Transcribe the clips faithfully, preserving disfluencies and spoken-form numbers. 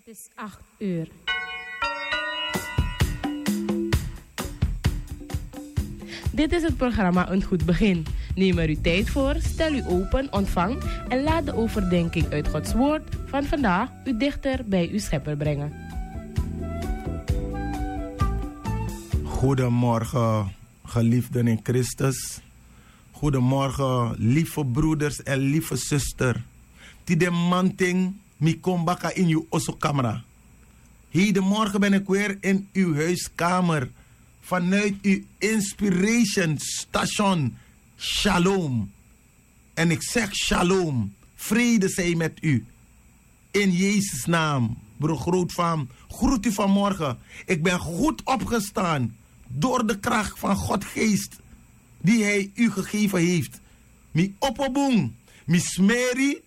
Het is acht uur. Dit is het programma Een Goed Begin. Neem er uw tijd voor, stel u open, ontvang en laat de overdenking uit Gods Woord van vandaag u dichter bij uw Schepper brengen. Goedemorgen, geliefden in Christus. Goedemorgen, lieve broeders en lieve zuster. Tide manting mi kon baka in yu oso kamra. Hedenmorgen ben ik weer in uw huiskamer vanuit uw inspiration station Shalom. En ik zeg shalom, vrede zij met u. In Jezus' naam, broer Grootvaan, groet u vanmorgen. Ik ben goed opgestaan door de kracht van God Geest die hij u gegeven heeft. Mi opo bun, mi smeri,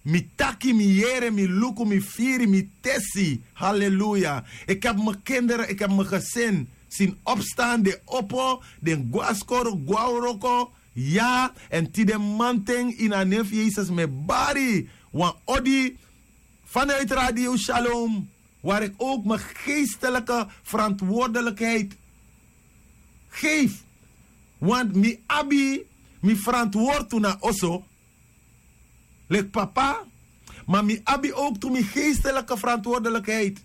mi taki, mi yere, mi luku, mi firi, mi tesi. Halleluja. Ik heb mijn kinderen, ik heb mijn gezin zien opstaan, den opo, den gwaskoro, gwawroko. Ja, en tide manting in a nef Jezus me bari wan odi vanuit Radio Shalom, waar ik ook mijn geestelijke verantwoordelijkheid geef. Want mi abi mi verantwoord tu na oso, lek papa, maar mi abi ook tu mi geestelijke verantwoordelijkheid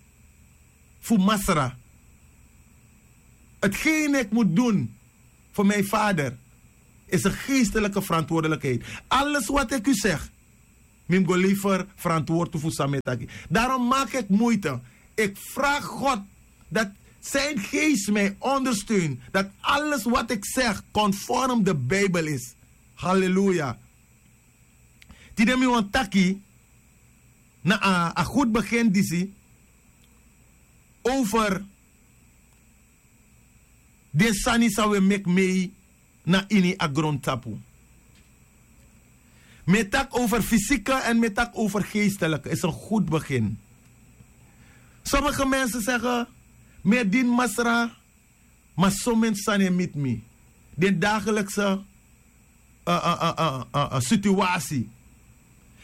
voor Masra. Hetgeen ik moet doen voor mijn vader is een geestelijke verantwoordelijkheid. Alles wat ik u zeg, mi mus go lever verantwoord tu fu san mi e taki. Daarom maak ik moeite. Ik vraag God dat zijn geest mij ondersteunt, dat alles wat ik zeg conform de Bijbel is. Halleluja. Tide mi wan taki na a, a goed begin disi over den sani san we meki mei na ini a grontapu. Mi e taki over fysieke en mi e taki over geestelijke. Is een goed begin. Sommige mensen zeggen, mi e dini Masra, maar sommige sani e miti mi. Den dagelijkse eh, eh, eh, eh, eh, eh, situatie,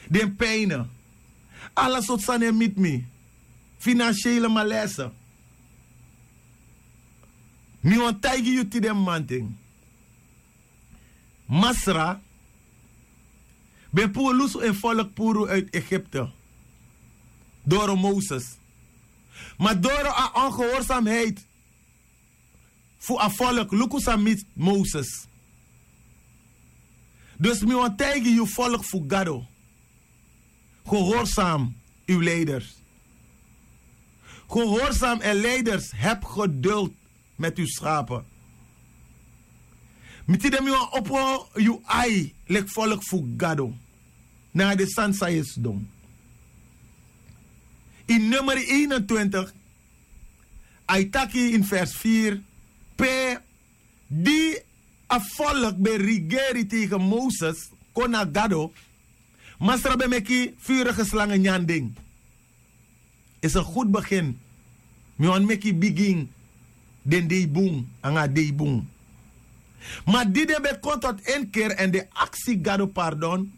den pijnen, ala sortu sani e miti mi. Financiële malaise. Mi wan taigi yu tide manting. Masra ben puru lusu en volk puru uit Egypte doro Moses. Maar doro a ongehoorzaamheid fu a volk, luku san miti Moses. Dus mi wan taigi yu, volk fu Gado, gehoorzaam uw leiders. Gehoorzaam en leiders, heb geduld met uw schapen. Mi tide mi wan opo yu ai leki volk fu Gado na den sani san yu e sidon. In nummer eenentwintig, a e taki in vers vier, pe di a volk ben rigeri tegen Moses kon na Gado, Masra ben meki vurige slangen nyan den. Is een goed begin. Mi wan meki bigin den dei bun, anga dei bun. Maar di den ben kon tot inkeer en den aksi Gado pardon,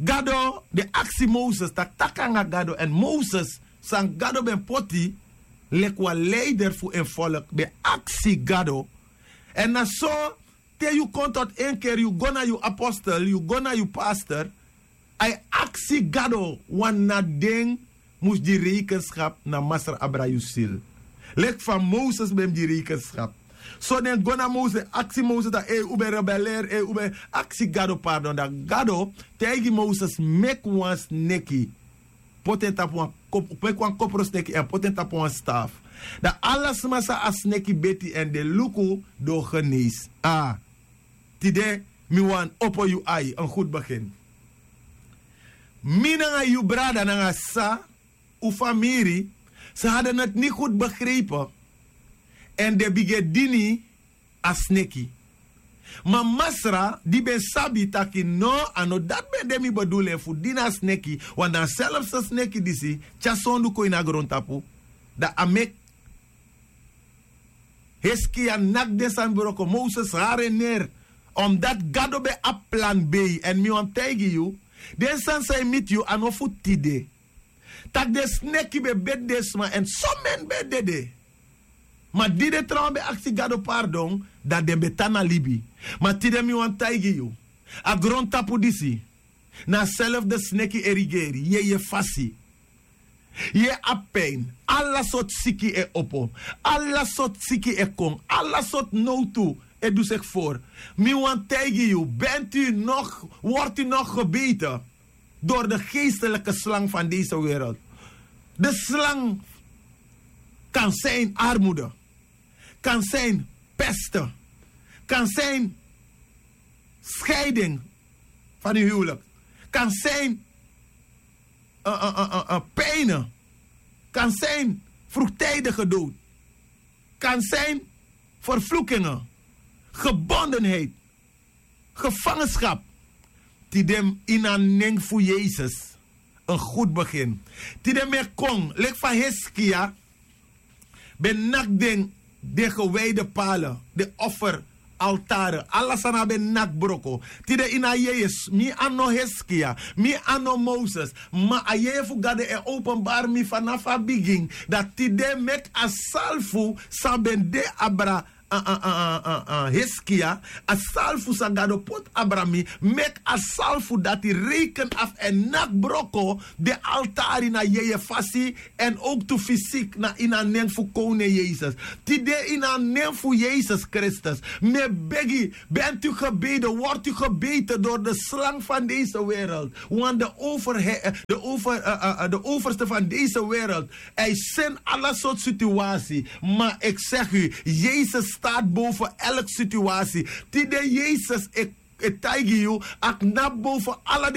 Gado, den aksi Moses, taki taki anga Gado, en Moses, san Gado ben poti leki wan leider fu en volk, ben aksi Gado. En na so, te yu kon tot inkeer, yu go na yu apostel, yu go na yu pastor, a e aksi Gado, want na den mus gi rekenschap na Masra abra yu ziel. Leki fa Moses ben mus gi rekenschap. So den go na Moses, aksi Moses taki, ei, un ben rebelleer, ei, un ben aksi Gado pardon. Dan Gado taigi Moses, meki wan sneki, poti en tapu wan kop-, meki wan koprosneki en poti en tapu wan staf. Dan ala sma san a sneki beti en den luku, den o genees. A, tide mi wan opo yu ai, een goed begin. Mi nanga yu brada nanga sa, un famiri, ze hadden het niet goed begrepen en den bigin e dini a sneki. Ma Masra, di ben sabi taki no, a no dati ben de mi bedoeling fu dini a sneki, want dan zelfs a sneki disi tyari sondu kon ini a grontapu, dan a meki Hiskia naki den sani broko, Moses hari en neer. Omdat Gado ben abi plan B. En mi wani taigi yu, den sani san e miti yu a no fu tide. Tak' den sneki ben beti den sma èn somen ben dede. Ma di den trawan ben aksi gado pardon, dan den ben tan na libi. Ma tide mi wani taigi yu, a grontapu disi na a selfde sneki e rigeri. Yeye fasi, yeye abi pin. Ala sortu siki e opo. Ala sortu siki e kon. Ala sortu nowtu e du seki for. Mi wani taigi yu, benti yu nog, wortu yu nog gebete dori de geestelike slang fan dese wereld. De slang kan sin armude, kan sin peste, kan sin skeiding fan yu huwlik, kan sin pijne, kan sin frugtidige dood, kan sin vervlukingen, gebondenheid, gevangenschap. Tide, ini a nen fu yesus, en gud begin. Tide mi e kon leki fa hiskia ben naki den, den gewijde pale, den offer altare, ala sani a ben naki broko. Tide ini a yeye, mi a no hiskia, mi a no moses, ma a yeye fu gado e openbari mi fanafu a bigin, dati tide meki a salfu san ben de abra hiskia, a salfu san gado poti abra mi, meki a salfu dati reiken afu èn naki broko den altari na yeye fasi, èn owktu fisik na ini a nen fu kownen yesus. Tide ini a nen fu yesus kristus, mi e begi, benti yu gebede, wortu yu gebete dori de slang fan dese wereld. Wan de overste fan dese wereld, a e seni ala sortu situasi. Ma eki segi yu, yesus stati boven elk situasi. Tide yesus e taigi yu, a knapu boven ala den